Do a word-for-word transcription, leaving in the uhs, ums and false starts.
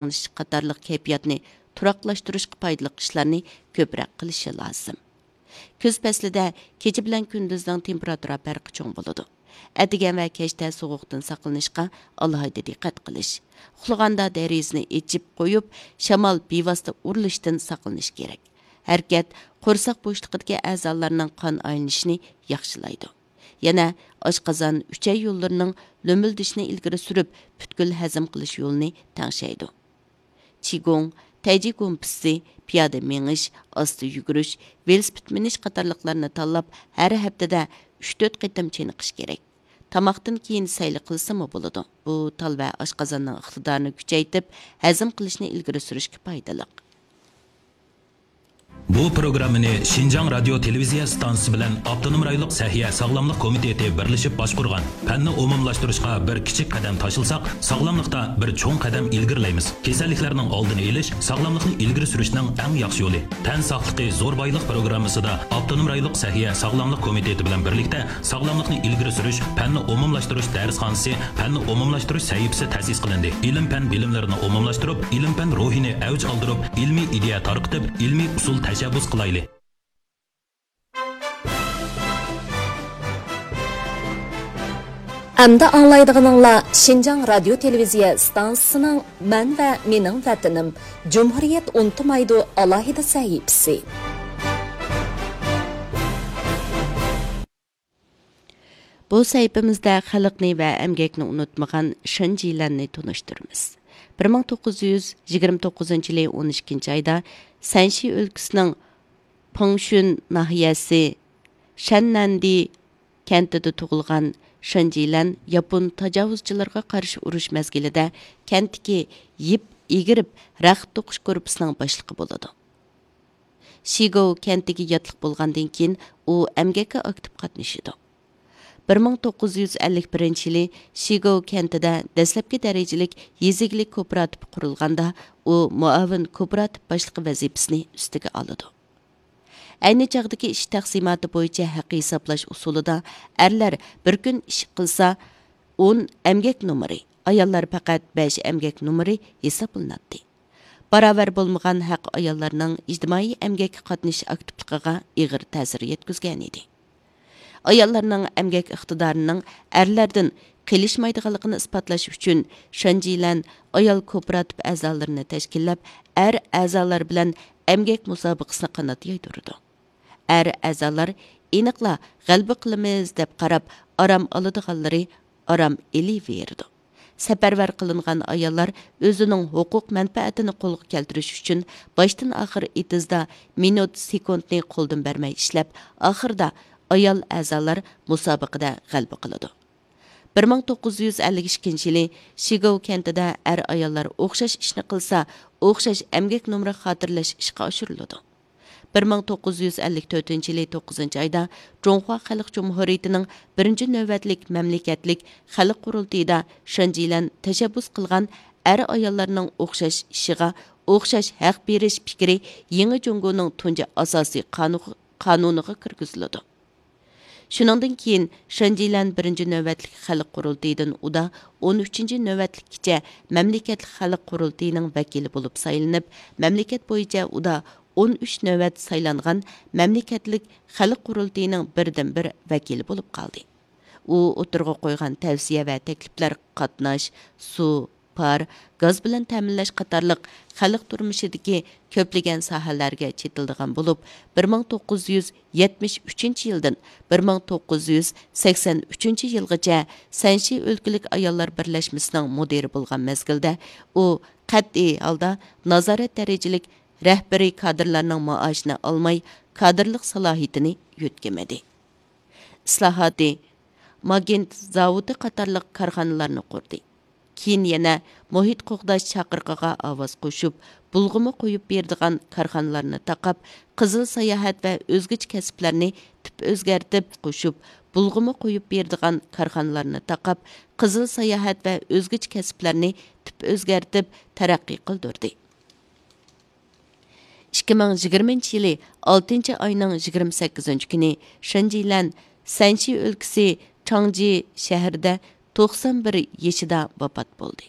ساقلىنىش قاتارلىق كەيپىياتنى تۇراقلاشتۇرۇشقا پايدىلىق ئىشلارنى كۆپرەك قىلىشى لازىم. كۈز پەسلىدە كېچە بىلەن كۈندۈزنىڭ تېمپېراتۇرا پەرقى چوڭ بولىدۇ. ئەتىگەن ۋە كەچتە سوغۇقتىن ساقلىنىشقا ئالاھىدە دىققەت قىلىش. ئۇخلىغاندا دېرىزىنى ئېچىپ قويۇپ، شامال بىۋاسىتە ئۇرۇلۇشتىن ساقلىنىش كېرەك. ھەرىكەت قورساق بوشلۇقىدىكى ئەزالارنىڭ قان ئايلىنىشىنى ياخشىلايدۇ. يەنە ئاشقازان، ئۈچەي يوللىرىنىڭ لۆمۈلدىشىنى ئىلگىرى سۈرۈپ، پۈتكۈل ھەزىم قىلىش يولىنى تەڭشەيدۇ. چىگۇڭ، تەيجى گۇمپىسى، پىيادە مېڭىش، ئاستا يۈگۈرۈش، ۋېلىسىپىت مىنىش قاتارلىقلارنى تاللاپ، ھەر ھەپتىدە ئۈچ تۆت قېتىم چېنىقىش كېرەك. تاماقتىن كېيىن سەيلە قىلسىمۇ بولىدۇ. بۇ تال ۋە ئاشقازاننىڭ ئىقتىدارىنى كۈچەيتىپ، ھەزىم قىلىشنى ئىلگىرى سۈرۈشكە پايدىلىق. بۇ پروگراممىنى شىنجاڭ رادىيو تېلېۋىزىيە ئىستانسىسى بىلەن ئاپتونوم رايونلۇق سەھىيە ساغلاملىق كومىتېتى بىرلىشىپ باشقۇرغان. پەننى ئومۇملاشتۇرۇشقا بىر كىچىك قەدەم تاشلىساق، ساغلاملىقتا بىر چوڭ قەدەم ئىلگىرىلەيمىز. كېسەللىكلەرنىڭ ئالدىنى ئېلىش، ساغلاملىقنى ئىلگىرى سۈرۈشنىڭ ئەڭ ياخشى يولى. تەن ساقلىقى زور بايلىق پروگراممىسىدا ئاپتونوم رايونلۇق سەھىيە ساغلاملىق كومىتېتى بىلەن بىرلىكتە ساغلاملىقنى ئىلگىرى سۈرۈش، پەننى ئومۇملاشتۇرۇش دەرسخانىسى، پەننى ئومۇملاشتۇرۇش سەھىپىسى تەسىس قىلىندى. ئىلىم-پەن بىلىملىرىنى ئومۇملاشتۇرۇپ، ئىلىم-پەن روھىنى ئەۋج ئالدۇرۇپ، ئىلمىي ئىدىيە تارقىتىپ، ئىلمىي ئۇسۇل تەشەببۇس قىلايلى. ئەمدى ئاڭلايدىغىنىڭلار شىنجاڭ رادىيو تېلېۋىزىيە ئىستانسىسىنىڭ مەن ۋە مېنىڭ ۋەتىنىم، جۇمھۇرىيەت ئۇنتۇمايدۇ ئالاھىدە سەھىپىسى. بۇ سەھىپىمىزدە خەلقنى ۋە ئەمگەكنى ئۇنتۇمىغان شېن جىلەننى تونۇشتۇرىمىز. بىر مىڭ توققۇز يۈز يىگىرمە توققۇزىنچى يىلى ئون ئىككىنچى ئايدا سەنشى ئۆلكىسىنىڭ پىڭشۈن ناھىيەسى شەننەندى كەنتىدە تۇغۇلغان شېن جىلەن ياپون تاجاۋۇزچىلىرىغا قارشى ئۇرۇش مەزگىلىدە كەنتتىكى يىپ ئېگىرىپ رەخت توقۇش گۇرۇپپىسىنىڭ باشلىقى بولىدۇ. شىگوۋ كەنتىگە ياتلىق بولغاندىن كېيىن، ئۇ ئەمگەككە ئاكتىپ قاتنىشىدۇ. بىر مىڭ توققۇز يۈز ئەللىك بىرىنچى يىلى شىگوۋ كەنتىدە دەسلەپكى دەرىجىلىك يېزا ئىگىلىك كوپىراتىپى قۇرۇلغاندا، ئۇ مۇئاۋىن كوپىراتىپ باشلىقى ۋەزىپىسىنى ئۈستىگە ئالىدۇ. ئەينى چاغدىكى ئىش تەقسىماتى بويىچە ھەق ھېسابلاش ئۇسۇلىدا ئەرلەر بىر كۈن ئىش قىلسا، ئون ئەمگەك نومۇرى، ئاياللار پەقەت بەش ئەمگەك نومۇرى ھېسابلىناتتى. باراۋەر بولمىغان ھەق ئاياللارنىڭ ئىجتىمائىي ئەمگەككە قاتنىشىش ئاكتىپلىقىغا ئېغىر تەسىر يەتكۈزگەنىدى. ئاياللارنىڭ ئەمگەك ئىقتىدارىنىڭ ئەرلەردىن قېلىشمايدىغانلىقىنى ئىسپاتلاش ئۈچۈن، شېن جىلەن ئايال كوپىراتىپ ئەزالىرىنى تەشكىللەپ، ئەر ئەزالار بىلەن ئەمگەك مۇسابىقىسىنى قانات يايدۇرىدۇ. ئەر ئەزالار ئېنىقلا غەلىبە قىلىمىز دەپ قاراپ، ئارام ئالىدىغانلىرى ئارام ئېلىۋېرىدۇ. سەپەرۋەر قىلىنغان ئاياللار ئۆزىنىڭ ھوقۇق مەنپەئەتىنى قولغا كەلتۈرۈش ئۈچۈن باشتىن ئاخىر ئېتىزدا مىنۇت، سېكۇنتنى قولدىن بەرمەي ئىشلەپ، ئاخىرىدا ئايال ئەزالار مۇسابىقىدە غەلىبە قىلىدۇ. بىر مىڭ توققۇز يۈز ئەللىك ئىككىنچى يىلى شىگوۋ كەنتىدە ئەر-ئاياللار ئوخشاش ئىشنى قىلسا، ئوخشاش ئەمگەك نومۇرى خاتىرىلەش ئىشقا ئاشۇرۇلىدۇ. بىر مىڭ توققۇز يۈز ئەللىك تۆتىنچى يىلى توققۇزىنچى ئايدا جۇڭخۇا خەلق جۇمھۇرىيىتىنىڭ بىرىنچى نۆۋەتلىك مەملىكەتلىك خەلق قۇرۇلتىيىدا شېن جىلەن تەشەببۇس قىلغان ئەر-ئاياللارنىڭ ئوخشاش ئىشىغا ئوخشاش ھەق بېرىش پىكرى يېڭى جۇڭگونىڭ تۇنجى ئاساسىي قانۇ-، قانۇنىغا كىرگۈزۈلىدۇ. شۇنىڭدىن كېيىن، شېن جىلەن بىرىنچى نۆۋەتلىك خەلق قۇرۇلتىيىدىن ئۇدا ئون ئۈچىنچى نۆۋەتلىككىچە مەملىكەتلىك خەلق قۇرۇلتىيىنىڭ ۋەكىلى بولۇپ سايلىنىپ، مەملىكەت بويىچە ئۇدا ئون ئۈچ نۆۋەت سايلانغان مەملىكەتلىك خەلق قۇرۇلتىيىنىڭ بىردىنبىر ۋەكىلى بولۇپ قالدى. ئۇ ئوتتۇرىغا قويغان تەۋسىيە ۋە تەكلىپلەر قاتناش، سۇ، پار، گاز بىلەن تەمىنلەش قاتارلىق خەلق تۇرمۇشىدىكى كۆپلىگەن ساھەلەرگە چېتىلىدىغان بولۇپ، بىر مىڭ توققۇز يۈز يەتمىش ئۈچىنچى يىلدىن بىر مىڭ توققۇز يۈز سەكسەن ئۈچىنچى يىلغىچە سەنشى ئۆلكىلىك ئاياللار بىرلەشمىسىنىڭ مۇدىرى بولغان مەزگىلدە، ئۇ قەتئىي ھالدا نازارەت دەرىجىلىك رەھبىرىي كادىرلارنىڭ مائاشىنى ئالماي، كادىرلىق سالاھىيىتىنى يۆتكىمىدى. ئىسلاھاتى، ماگنىت زاۋۇتى قاتارلىق كارخانىلارنى قۇردى. كېيىن يەنە مۇھىت قوغداش چاقىرىقىغا ئاۋاز قوشۇپ، بۇلغىما قويۇپ بېرىدىغان كارخانىلارنى تاقاپ، قىزىل ساياھەت ۋە ئۆزگىچە كەسىپلەرنى تۈپ ئۆزگەرتىپ قوشۇپ، بۇلغىما قويۇپ بېرىدىغان كارخانىلارنى تاقاپ، قىزىل ساياھەت ۋە ئۆزگىچە كەسىپلەرنى تۈپ ئۆزگەرتىپ تەرەققىي قىلدۇردى. ئىككى مىڭ يىگىرمىنچى يىلى ئالتىنچى ئاينىڭ يىگىرمە سەككىزىنچى كۈنى شېنجىلەن سەنشى ئۆلكىسى چاڭجى شەھىرىدە توقسان بىر يېشىدا ۋاپات بولدى.